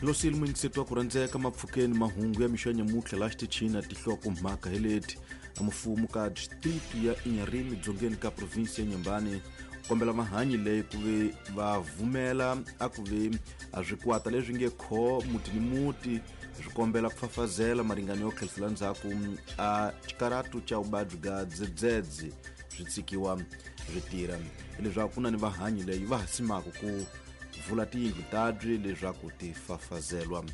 Losile muyingiseti wa ku rhandzeka mapfhukeni mahungu ya mixo ya nyamutlha laha xitichini na tinhlokomhaka hi leti. Mfumo ka district ya Inharime dzongeni ka provinsi ya Inhambane kombela mahanyi leyi ku ve va vumela a ku ve a swikwata leswi nge kho muti ni muti swi kombela ku fafazela maringano yo tlherisela ndzhaku a xikaratu xa vuvabyi bya dzedzedze swi tshikiwa swi tirha, hileswaku ku na ni vahanyi leyi va ha simaka ku vula tiyindlu tabyi leswaku ti fafazelwa.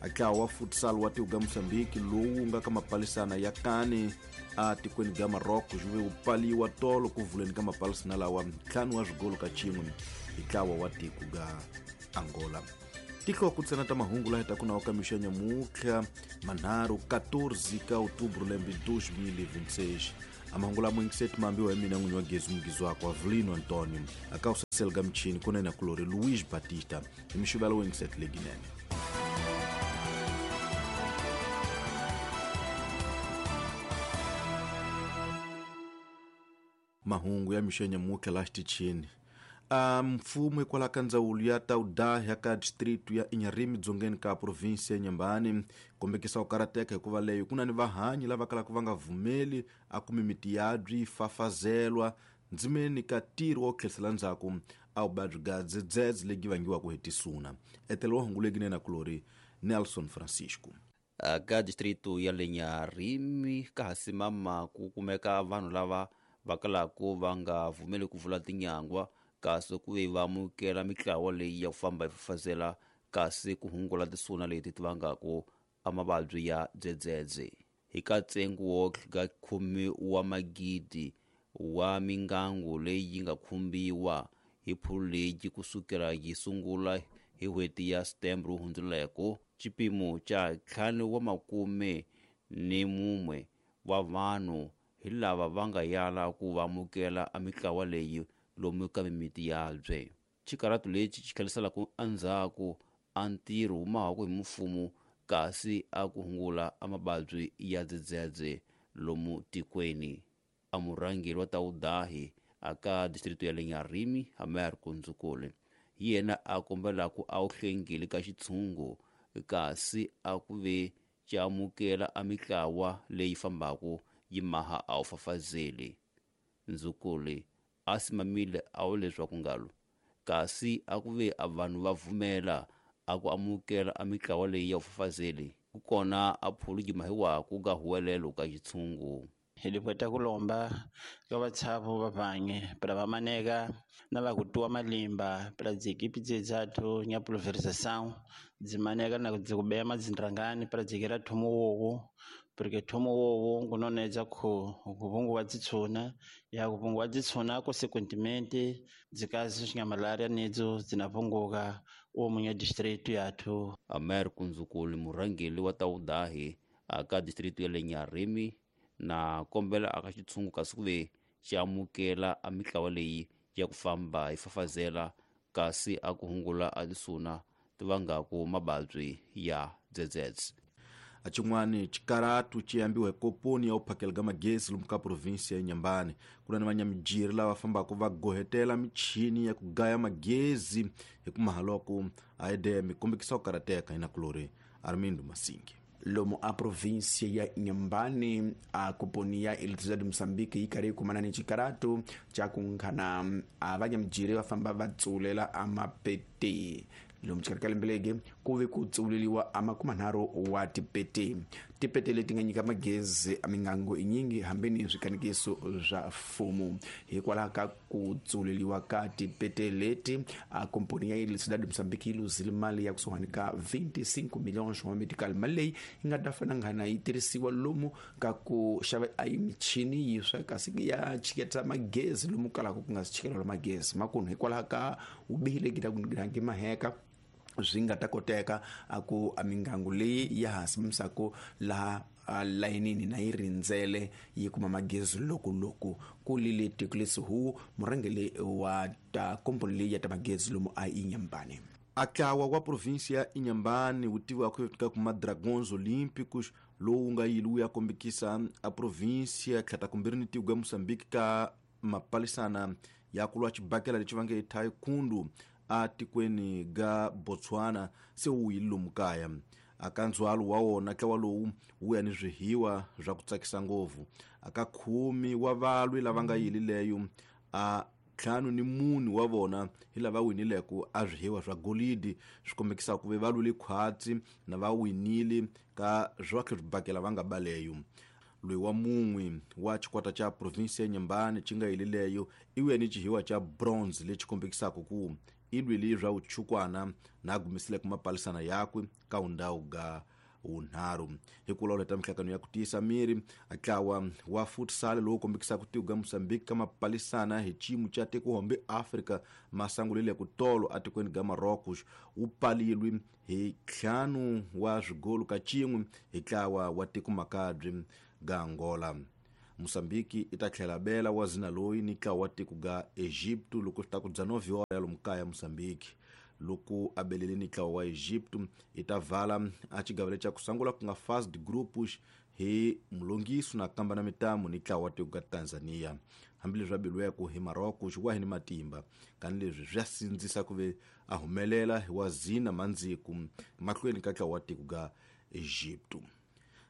A ntlawa wa futsal wa tiko ga Mozambique lowu nga ka mapalisana ya kane a tikweni ga Morocco xi ve wu pfaliwa tolo ku vuleni ka mapalisana lawa 5 wa swigolo ka xin'we hi ntlawa wa tiko ga Angola. Tihloko ntsena ta mahungu laha ta ku nawu ka mixo ya nyamutlha manharhu 14 ka outubro lembe 2026. A mahungu lama yingiseti mambiwa hi mina n'winyi wa gezi mugizi wakwe Avelino Antonio a ka usasela ka michini kunene kulori Luiz Batista hi mixivelo wo yingiseti leginene. Mahungu ya mixo ya nyamutlha laha xitichini. A mfumo hikwalaho ka ndzawulo ya Taudaha ka district ya Inharime dzongeni ka provinsi ya Inhambane kombekisa ku karateka hikuva leyo ku na ni vahanyi lava kalaka va nga vumeli a kumi miti yabyi yi fafazelwa ndzimeni ka ntirho wa ku tlherisela ndzhaku a vuvabyi bya dzedzedze lebyi vangiwaka hi tisuna. Etelo wa hungu leginene kulori Nelson Francisco. Ka distrito ya le Inharime ka ha simama ku kumeka vanhu lava va kalaku va nga vumeli ku vula tinyangwa kasi ku ve va amukela mitlawa leyi ya ku famba yi fafazela kasi ku hungula tisuna leti ti vangaku a mavabyi ya dzedzedze. Hi ka ntsengo wo ka 10 wa magidi wa mingangu leyi yi nga khumbiwa hi phulu leyi kusukela yi sungula hi n'hweti ya September wu hundzuleko, xipimo xa 5 wa makume ni mumwe wa vanhu hi lava va nga yala ku va amukela a mitlawa leyi lomu ka mimiti yabye. Xikaratu lexi xi tlheliselaka endzhaku a ntirho wu mahaku hi mfumo kasi a ku hungula a mavabyi ya dzedzedze lomu tikweni. A murhangeri wa Taudahi a ka distrito ya le Inharime Amer Kunzukule hi yena a kombelaku a wu hlengile ka xitshungu kasi a ku ve xi amukela a mitlawa leyi fambaku yi maha a wu fafazeli. Ndzukule a simamile a wu leswaku ngalo kasi a ku ve a vanhu va vumela a ku amukela a mitlawa leyi ya vufafazeli ku kona a phulu yi mahiwaku ka huwelelo ka xitshungu. Hi lipweta kulomba ka vatshavo va vange pela va maneka na va kutuwa malimba pela dziekipi dzedzathu nya pulverização dzimaneka na dzikubeya madzindrangani pela dzikira thomo wowo porque thomo wowo ngunonedza khu kuvunguwa dzitshuna ya kuvunguwa dzitshuna consequentemente dzikazi nya malaria nedzo dzinapunguka umu nya district yathu. Amer Kunzukuli murhangeri wa Taudahi aka district ya le Inharime na kombela aka xitshungu kasi ku ve xi amukela a mitlawa leyi ya ku famba yi fafazela kasi a ku hungula a tisuna ti vangaku mavabyi ya dzedzedze. A xin'wani xikaratu xi ambiwa hi komponi ya u phakela ka magezi lomu ka provinsi ya Inhambane. Ku na ni vanyamijiri lava fambaka va gohetela michini ya ku gaya magezi hi ku mahaloko a EDM kombekisa ku karateka hi nakulori Armindo Masingi. Lomu a província ya Inhambane a komponi ya Eletricidade de Moçambique yi karhi yi kumana ni xikaratu xa ku nghana a vanyamijiri va famba va tsulela a mapete. Lomu xikarhi ka lembe legi ku ve ku tsuleliwa a 30 wa tipete. Tipete leti nga nyika magezi a mingango yinyingi hambi ni swikanekiso swa mfumo. Hikwalaho ka ku tsuleliwa ka tipete leti a komponi ya Eletricidade de Moçambique yi luzile mali ya kusuhani ka 25 milhões wa medical. Mali leyi yi nga ta fana nghana yi tirhisiwa lomu ka ku xava a yi michini yiswa kasi ya chiketa magezi lomu kalaka ku nga si chikeleriwa magezi makunu hikwalaho ka vubihi lebyi ta ku ngi maheka swi nga ta koteka a ku a mingangu leyi ya ha simisaka laha a layinini na yi rindzele yi kuma magezi loko loko ku lile tiko hu murhangeri wa ta komponi leyi ya ta magezi lomu a Inhambane. A ntlawa wa provinsi ya Inhambane wu tiviwaka ka kuma Dragões Olímpicos lowu nga yili wu ya kombekisa a provinsi ya tlhata kumbirhi ni tiko ya Mozambique ka mapalisana ya ku lwa xibakela lexi va nge taekwondo a tikweni ga Botswana se wu yile lomu kaya. Aka ndzhwalo wa wona ntlawa lowu wu ya ni swihiwa swa ku tsakisa ngopfu. Aka 10 wa valwi lava nga yilileyo, a 54 wa vona hi lava winileko a swihiwa swa golidi, swi kombekisaka ku ve va lwile khwatsi na va winile ka swakhe swibakela va nga baleyo. Loyi wa mun'we wa xikwata xa provinsi ya Nyembane xi nga yilileyo i wuya ni xihiwa xa bronze lexi kombekisaka ku i lwile swa vuchukwana na a gumisileke mapalisana yakwe ka undhawu ga wunharhu. Hi ku lawula mihlangano ya ku tiyisa miri, ntlawa wa futsal lowu kombekisaka tiko ga Mozambique ka mapalisana hi xiyimo xa tiko-hombe Afrika masangulile ku tolo atikweni ga Marocos wu palilwe hi 5 wa swigolo ka 1 hi ntlawa wa tiko makabye ga Angola. Mozambique i ta tlhela bela wa zina loyi ni ntlawa wa tiko ga Egypto loko swi ta ku dya 9 hora ya lomu kaya Mozambique. Loko a belele ni ntlawa wa Egypto i ta vala a xigavelo xa ku sungula ku nga fast groups hi mulongiso na kamba na mitamu ni ntlawa wa tiko ga Tanzania. Hambileswi a beliweke hi Morocco xi wahi ni matimba, kani leswi swi ya sindzisa ku ve a humelela hi wa zina mandziku mahlweni ka ntlawa wa tiko ga Egypto.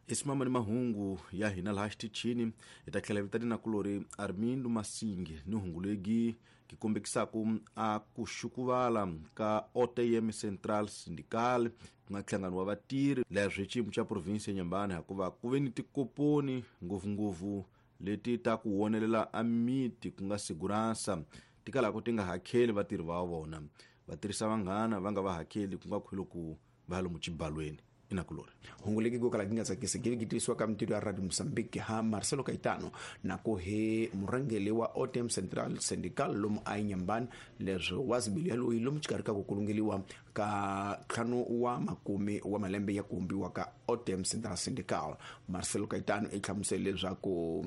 Isimama ni mahungu ya hina laha xitichini, hi ta tlhela vitani na kulori Armindo Masingi ni hungu legi ki kombekisaka a ku xukuvala ka OTM Central Syndical ku nga nhlangano wa vatirhi leswi xiyimo xa provinsi ya Nyembane, hikuva ku ve ni tikoponi ngopfungopfu leti ta ku wonelela a miti ku nga segurança ti kalaka ti nga hakeli vatirhi va vona, va tirhisa vanghana va nga va hakeli ku nga khwiloku va lomu xibalweni. Inakulori hungu legi go kala gi nga tsakisi gi gi tirhisiwa ka mintirho ya Radio Mozambique ha Marcelo Caetano na ku hi murhangeri wa OTM Central Syndical lomu a Inhambane, leswi wa zibili ya loyi lomu xikarhi ka ku kulungeliwa ka 50 wa makume wa malembe ya ku vumbiwa ka OTM Central Syndical. Marcelo Caetano i hlamusele leswaku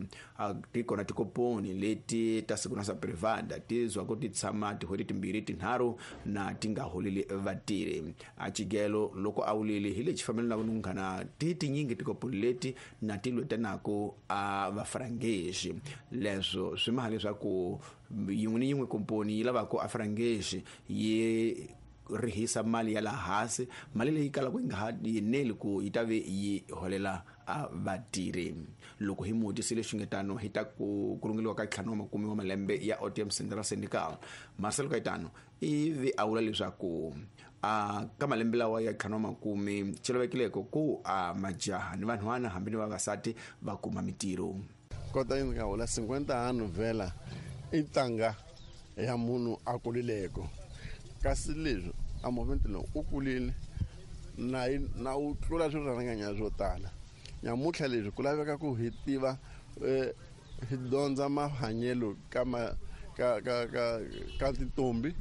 ti kona tikoponi leti ta segurança privada ti zwa ku ti tshama tin'hweti timbirhi tinharhu na ti nga holeli vatirhi. A xigelo loko a wulile hi lexi fambelanaku ni munghana ti tinyingi tikoponi leti na ti lwetanaka a vafrangexi, leswo swi maha leswaku yin'we ni yin'we komponi yi lavaka a frangexi yi rihisa mali ya laha hansi, mali leyi kalaka yi nga ha yeneli ku yi ta ve yi holela a vatirhi. Loko hi mutisile xingetano hi ta ku kulungeliwa ka 50 wa makume wa malembe ya OTM Central Syndical, Marcelo Caetano ivi a vula leswaku a ka malembe lawa ya 50 wa makume xi lavekileko ku a majaha ni vanhwana hambi ni vavasati va kuma mitirho. Kota yi nga hola 50 ano vhela i ntanga ya munhu a kulileko, kasi leswi a movement lowu u kulile na u tlula swirharanganya swo tala. Nyamutlha leswi ku laveka ku hi tiva hi dyondza mahanyelo ka ka ka ka ka tintombi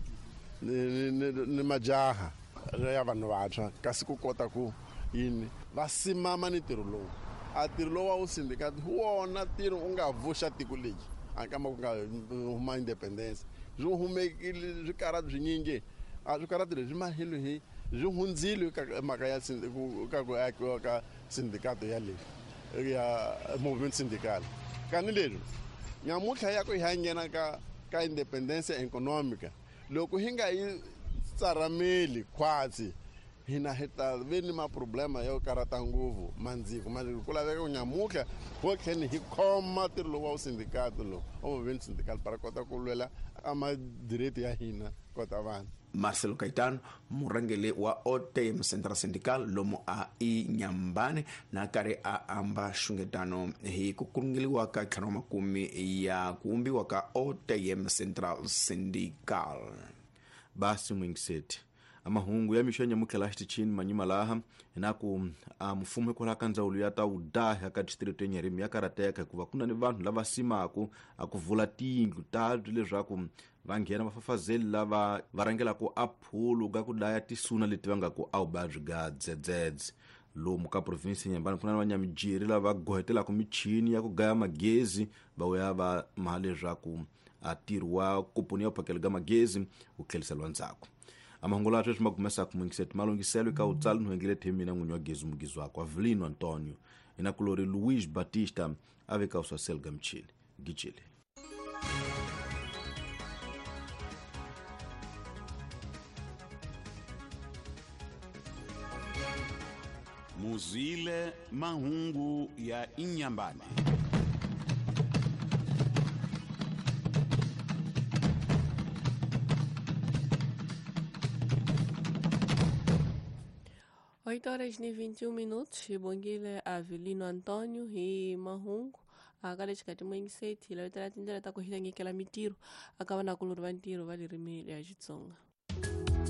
ni majaha ya vanhu vantshwa, kasi ku kota ku yini va simama ni ntirho lowu. A ntirho lowu wa wu sindikati hi wona ntirho u nga vuxa tiko legi a kamba ku nga huma independence swi humekile swikarati swinyingi, a swikarati leswi mahelo hi swi hundzile ka mhaka ya ka ku akiwa ka sindikato ya le ya movement syndical. Kani leswi nyamutlha ya ku hi nghena ka independence economica, loko hi nga yi tsarameli khwatsi hina hi ta ve ni maproblema yo karata ngopfu mandziko. Mandziko ku laveka ku nyamutlha ho tlheni hi khoma ntirho lowu wa wu sindikato lowu wa movement syndical para kota ku lwela a madireti ya hina kota vanhu. Marcelo Caetano murhangeri wa OTM Central Syndical lomu a Inhambane na karhi a amba xungetano hi ku kulungeliwa ka 50 wa makume ya ku vumbiwa ka OTM Central Syndical. Basi mwingiseti amahungu ya mixo ya nyamutlha laha xitichini manyima laha hinaku a mfumo hikwalaho ka ndzawulo ya ta vudaha ka district ya Nyarimi ya karhateka hikuva ku na ni vanhu lava simaku a ku vula tiyindlu tabyi leswaku va nghena vafafazeli lava va rhangelaka a phulu ka ku dlaya tisuna leti va nga ku a vuvabyi ga dzedzedze. Lomu ka provinsi ya Inhambane ku na vanyamijiri lava gohetelaka michini ya ku gaya magezi va vuya va maha leswaku a ntirho wa komponi ya vuphakelo ga magezi wu tlheriseriwa ndzhaku. Amahungu lawa sweswi ma kumesaka mwingiseti malunghiselo eka wutsali nhwengele themina n'winyi wa gezi mugizi wakwe Avelino Antonio inakulori Luis Batista a veka uswasel ga michini gicile. Muzwile mahungu ya Inhambane. 8h21 xibongile Avelino Antônio hi mahungu aka le xikarhi moyingiseti hi lavetela tindlela ta ku hilangekela mitirho aka vanakulorhi va ntirho va ririmi ya Xitsonga.